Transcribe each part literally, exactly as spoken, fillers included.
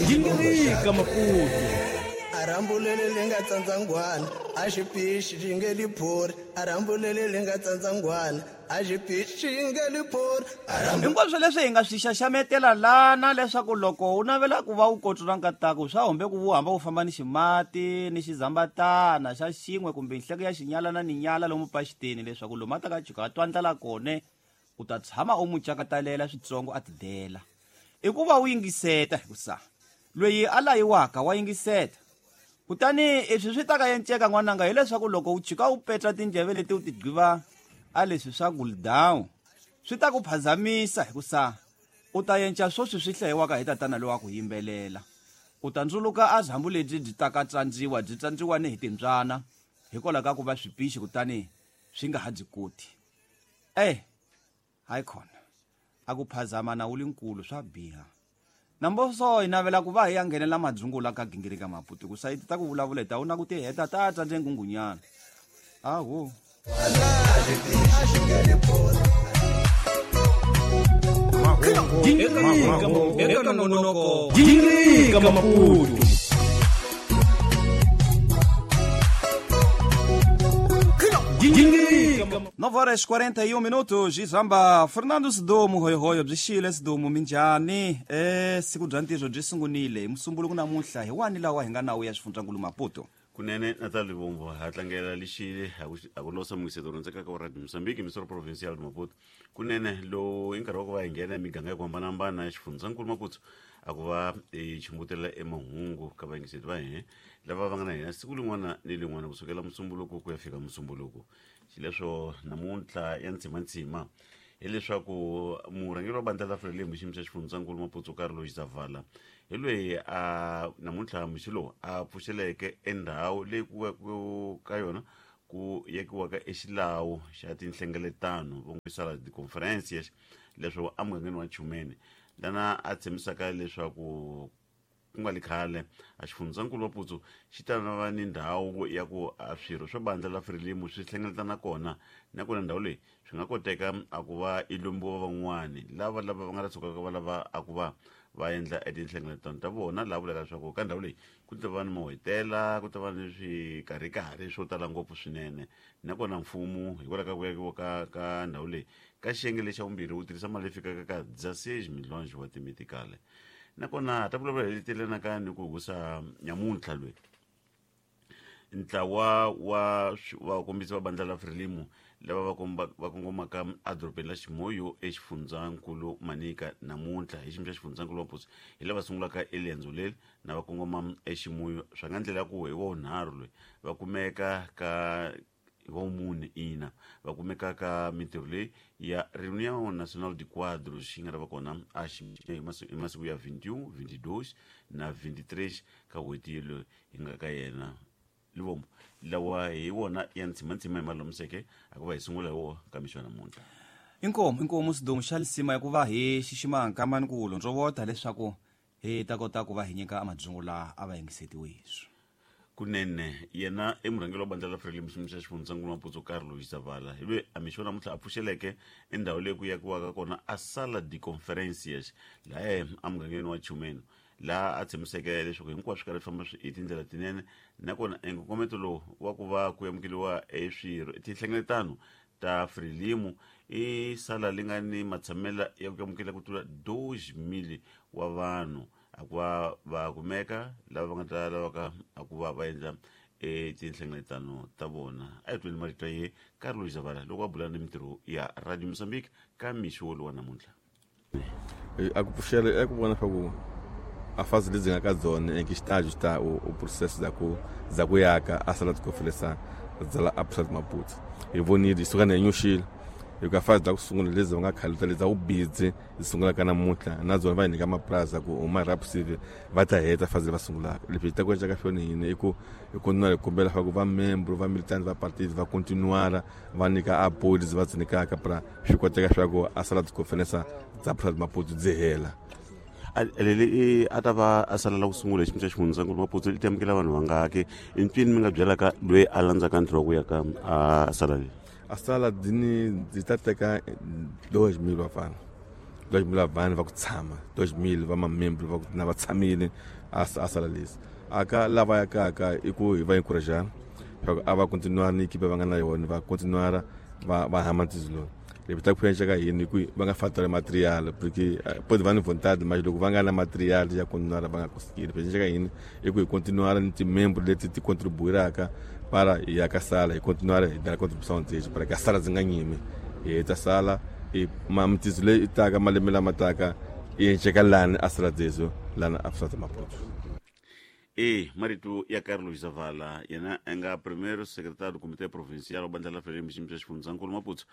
Gingirika Maputo. Arambulele lenga tsandzangwana a xi pixi xi nge liphori arambulele lenga tsandzangwana a xi pixi xi nge liphori. Hinkwaswo leswi hi nga swi xaxametela lana leswaku loko u navela ku va u kotsula nkataku swa humbe ku wu hamba u famba ni ximati ni xizambatana xa xin'we kumbe nhleko ya xinyalana ni nyala lomu paxiteni leswaku lomu a ta ka jika a twa ndlala kone u ta tshama u n'wi cakatalela switsongo a tidela. I ku va u yingiseta hikusa loyi a layiwaka wa yingiseta. Kutani leswi swi ta ka enceka n'wananga hileswaku loko u chika u petla tindleve leti u ti gqiva a leswi swa cool down swi ta ku phazamisa hikusa u ta yenca swoswi swi hlayiwaka hi tatana lowa ku yimbelela. U ta ndzuluka a zambu lebyi byi ta ka tsandziwa byi tsandziwa ni hi timbyana hikwalaho ka ku va swipixi kutani swi nga ha byi koti. Eh, hayi khona a ku phazama na wu linkulu swa biha. Namboso hi navela ku va hi ya nghenela madzungula ka Gingirika Maputo ku sayiti ta ku vulavula hi ta wu na ku ti heta ta tsandze nghunghunyana. Aho. Gingirika eka nongonoko. Gingirika Maputo. nove horas quarenta e um minutos, Zamba Fernando Sidumo, hoyo hoyo, byi xile Sidumo minjhani? Eh, siku bya ntirho byi sungunile. Musumbuluko namuntlha hi wani lawa hi nga nawu ya xifundzankulu Maputo. Kunene Natal Livombo ha tlangela lexile a ku losa mungiseto rhundzeka ka Radio Mozambique Misoro Provincial Maputo. Kunene lowu i nkarhi wa ku va hi nghena emiganga ya ku hambanahambana ya xifundzankulu Maputo a ku va hi chumbutela emahungu ka vayingiseti va hina lava va nga na hina siku rin'wana ni rin'wana kusukela musumbuluko ku ya fika musumbuluko. Xileswo namuntlha ya ntsimantsima hileswaku murhangeri wa bandla la Frelimo xiyimo xa xifundzankulu Maputo Carlos Zavala hi loyi a namuntlha mixo lowu a pfuxeleke endhawu leyi ku ka yona ku yekiwaka exilawu xa tinhlengeletano vo sala ti-conference leswaku emugangeni wa Chumeni lana a tshembisaka leswaku ku nga li khale a xifundzankulu Maputo xi ta va ni ndhawu ya ku a swirho swa bandla la Frelimo swi hlengeletana kona nakona ndhawu leyi swi nga koteka a ku va i lombiwa van'wani lava lava va nga ta tshukaka va lava a ku va va endla etinhlengeletano ta vona laha vulaka leswaku ka ndhawu leyi ku ta va ni mahotela ku ta va ni swikarhikarhi swo tala ngopfu swinene nakona mfumo hikwalaho ka ku yakiwa ka ka ndhawu leyi ka xiyenge lexa vumbirhi wu tirhisa mali leyi fikaka ka dezesseis milhões wa timitikale. Nakona ta vulavula hi letelana ni ku husa nyamuntlha loyi ntlawa wa vakombisi va bandla la Frelimo lava va komba va kongomaka edorobeni la Chimoio exifundzankulu Manica namuntlha hi xiyimo xa xifundzankulu Maputo hi lava sungulaka eriendzo leri na va kongoma eXimoyo swa nga ndlela ya ku hi wa vunharhu loyi va kumeka ka wa mune ina va kumeka ka mintirho leyi ya Reunião Nacional de Quadros yi nga ta va kona a hi masiku ya vinte e um, vinte e dois na vinte e três ka n'hweti yeleyo hi nga ka yena. Livombo lawa hi wona ya ntsimantsima hi malomiseke a ku va hi sungula hi wona ka mixo ya namuntlha. Inkomu inkomu Sidumo xa lisima ya ku va hi xixima nkamani ku londzovota leswaku hi ta kota ku va hi nyika amadzungula a va yingisetiwe hiswi. Kunene yena i murhangeri wa bandla la Frelimo xiyimo xa xifundzankulu Maputo Carlos Zavala hi loyi a mixo namuntlha a pfuxeleke endhawu leyi ku yakiwaka kona a sala de conferencias laha emugangeni wa Chumeni laha a tshembiseke leswaku hinkwaswo swi karhi swi famba hi tindlela tinene nakona enkongometo lowu wa ku va ku amukeriwa eswirho tinhlengeletano ta Frelimo i sala li nga ni matshamela ya ku amukela ku tlula dois mil wa vanhu a ku va va kumeka lava va nga ta lavaka a ku va va endla etinhlengeletano ta vona. A hi tweni marito ye Carlos Zavala loko a bula ni mintirho ya Radio Mozambique ka mixo wolowo wa namuntlha. A ku pfuxela i ku vona swa ku a fase leti nga ka dzona em que estágio está o, o processo da ku da ku yaka a sala de conferência dza la Absat Maputo. Hi vonile hi suka na nyuxile hi ka fase da ku sungula lezi va nga khale ta lezi u busy hi sungula ka namuntlha na dzona va hi nyika mapurasi ku huma rapsive va ta heta fase va sungulaka. Leswi hi ta ku endla ka swona hina i ku hi continua hi kombela swa ku va membro va militant va partido va continuara va nyika apoio lezi va byi nyikaka pra swi koteka swa ku a sala de conferência dza Absat Maputo byi hela. Leli a ta va a sala la ku sungula hi xiyimo xa xifundzankulu Maputo i ta amukela vanhu vangaki i mpfini mi nga byelaka loyi a landzaka ntirho wa ku ya ka a sala leyi? A sala dini byi ta teka dois mil vafana dois mil vanhu va ku tshama dois mil va mamembro va ku na va tshamile a a sala lesi aka lava yakaka i ku hi va encourager a va continuar ni equipe va nga na yona va continuar va va hama ntizilo le ta ku ka yini ku va nga fatura material porque pode va ni vontade mas loko va nga na material ya continuar va nga conseguir ka yini i ku hi continuar ni timembro leti ti contribuiraka para hi ya ka sala hi continuar hi dala contribution dzexe para ka sala dzi nga nyimi hi heta sala i mamtizo leyi taka malembe lama taka i enceka lani a sala dzezo lana a Sala Maputo. E marito ya Carlos Zavala yena a nga primeiro secretário do Comitê Provincial wa Bandla la Frelimo xiyimo xa xifundzankulu Maputo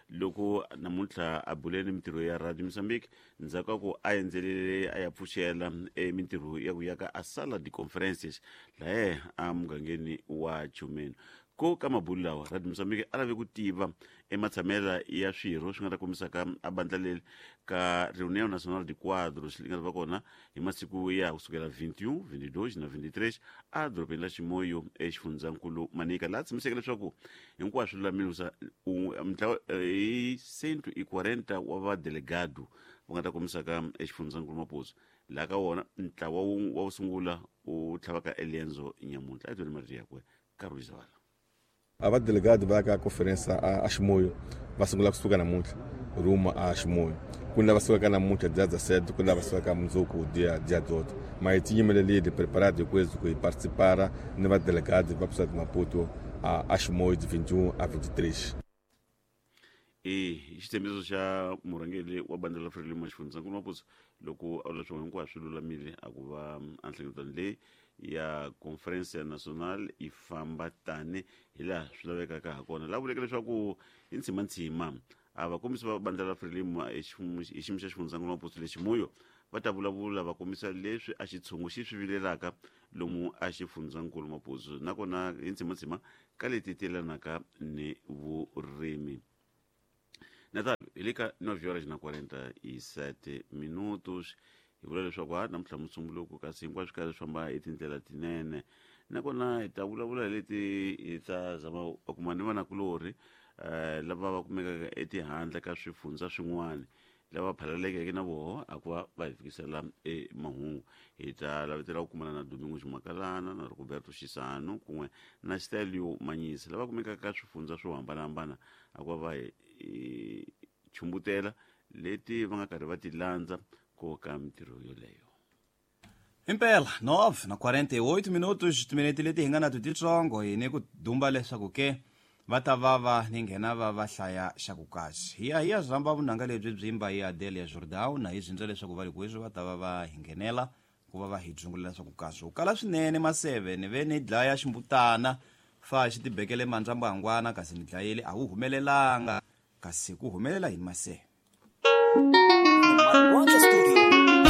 loko namuntlha a bule ni mintirho ya Radio Mozambique ndzhaku ka ku a endzelele a ya pfuxela e mintirho ya ku yaka a sala de conferences lahe a mugangeni wa Chumeni. Ko ka mabulu lawa Radio Mozambique a lave ku tiva ematshamela ya swirho swi nga ta kombisaka a bandla leri ka Reunião Nacional de Quadros li nga ta va kona hi masiku ya kusukela vinte e um, vinte e dois na vinte e três a dorobeni la Chimoio exifundzankulu Manica laha tshamiseke leswaku hinkwaswo lulamile mintlawa hi cento e quarenta wa vadelegado va nga ta kombisaka exifundzankulu Maputo laha ka wona ntlawa wa wu sungula wu tlhavaka Elienzo nyamuntlha a twele marito yakwe Carlos Zavala. A va delegado va ka conferência a Chimoio va sungula kusuka namuntlha rumo a Chimoio ku na va sukaka namuntlha dia dezessete ku na va sukaka mundzuku dia dia dezoito mas hi tinyimelelile preparado hi ku hi participar ni va delegado va Sala de Maputo a a Chimoio de vinte e um a vinte e três. E xitshembiso xa murhangeri wa bandla la Frelimo xifundzankulu Maputo loko a vula leswaku hinkwaswo swi lulamile a ku va a nhlengeletano leyi ya Conferência Nacional yi famba tani hi laha swi lavekaka ha kona laha vuleke leswaku hi ntshimantsima a vakombisi va bandla la Frelimo hi xiyimo xa xifundzankulu Maputo lexi Chimoio va ta vulavula va kombisa leswi a xitshungu xi swi vilelaka lomu a xifundzankulu Maputo nakona hi ntshimantsima ka leti telanaka ni vurimi. Natal, hi le ka nove horas na quarenta e sete minutos hi vula leswaku ha namuntlha musumbuluko kasi hinkwaswo karhi swi famba hi tindlela tinene nakona hi ta vulavula hi leti hi ta zama va kuma ni vanakulorhi um lava va kumekaka etihandle ka swifundza swin'wana lava phalalekeke na voho a ku va va hi fikisela e mahungu hi ta lavetela ku kumana na Domingo Ximakalana na Roberto Xisano kun'we na Stelio Manyisa lava kumekaka ka swifundza swo hambanahambana a ku va va hi chumbutela leti va nga karhi va ti landza ko ka mintirho yoleyo. Impela nove na quarenta e oito minutos timinete leti hi nga na to titsongo hi ni ku dumba leswaku ke va ta va va ni nghena va va hlaya xa ku kasi hi ya hi ya zamba vunanga lebyi byimba hi Adelia Jordão na hi zindza leswaku va ri kweswi va ta va va hi nghenela ku va va hi dzungulela leswaku kasi u kala swinene maseve ni ve ni dlaya ximbutana fa xi tibekele mandzambangwana kasi ni dlayile a wu humelelanga kasi ku humelela yini maseve. One